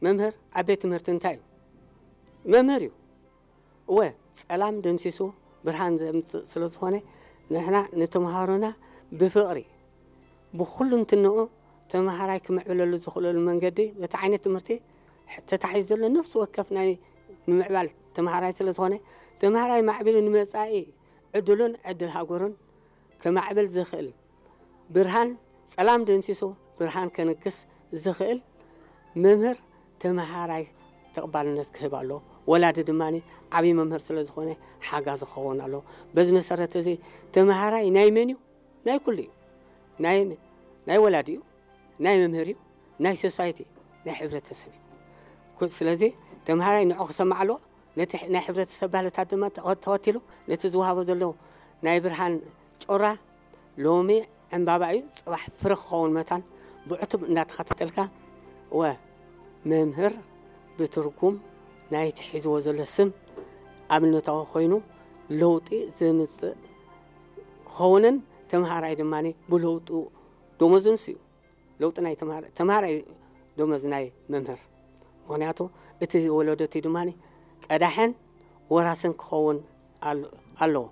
መምህር ኣብ ቤት ትምህርቲ እንታይ እዩ? መምህር እዩ። እወ፣ ጸላም ደምሲሱ ብርሃን ዘምጽእ ስለ ዝኾነ፣ ንሕና ንተምሃሮና ብፍቕሪ፣ ብኹሉ እንትንኡ ተምሃራይ ክምዕብለሉ ዝኽእለሉ መንገዲ፣ በቲ ዓይነት ትምህርቲ ተታሒዙ ዘሎ ነፍሲ ወከፍ ናይ ምምዕባል ተምሃራይ ስለ ዝኾነ፣ ተምሃራይ ማዕቢሉ ንመጻኢ ዕድሉን ዕድል ሃገሩን ከማዕብል ዝኽእል፣ ብርሃን ጸላም ደምሲሱ ብርሃን ከንግስ ዝኽእል መምህር ተምሃራይ ተቕባልነት ክህብ ኣለዎ። ወላዲ ድማ ዓብዪ መምህር ስለ ዝኾነ ሓጋዚ ክኸውን ኣለዎ። በዚ መሰረት እዚ ተምሃራይ ናይ መን እዩ? ናይ ኩሉ እዩ። ናይ፣ ናይ ወላዲ እዩ፣ ናይ መምህር እዩ፣ ናይ ሶሳይቲ፣ ናይ ሕብረተሰብ እዩ። ኩ-፣ ስለዚ ተምሃራይ ንዑ ክሰማዕ ኣለዎ። ነቲ ሕ-፣ ናይ ሕብረተሰብ ባህልታት ድማ ተኸ-፣ ተኸቲሉ ነቲ ዝወሃቦ ዘሎ ናይ ብርሃን ጮራ ሎሚ ዕምባባ እዩ፣ ጽባሕ ፍረ ክኸውን መታን ብዕቱብ እንዳተኸታተልካ፣ ወ መምህር ብትርጉም ናይቲ ሒዝዎ ዘሎ ስም ኣብነታዊ ኮይኑ ለውጢ ዘምጽእ ክኸውንን ተምሃራይ ድማ ብለውጡ ደሞዙ ንሱ እዩ። ለውጢ ናይ ተምሃር-፣ ተምሃራይ ደሞዝ ናይ መምህር። ምኽንያቱ እቲ ወለዶ እቲ ድማ ቀዳሕን ወራስን ክኸውን ኣል-፣ ኣለዎ።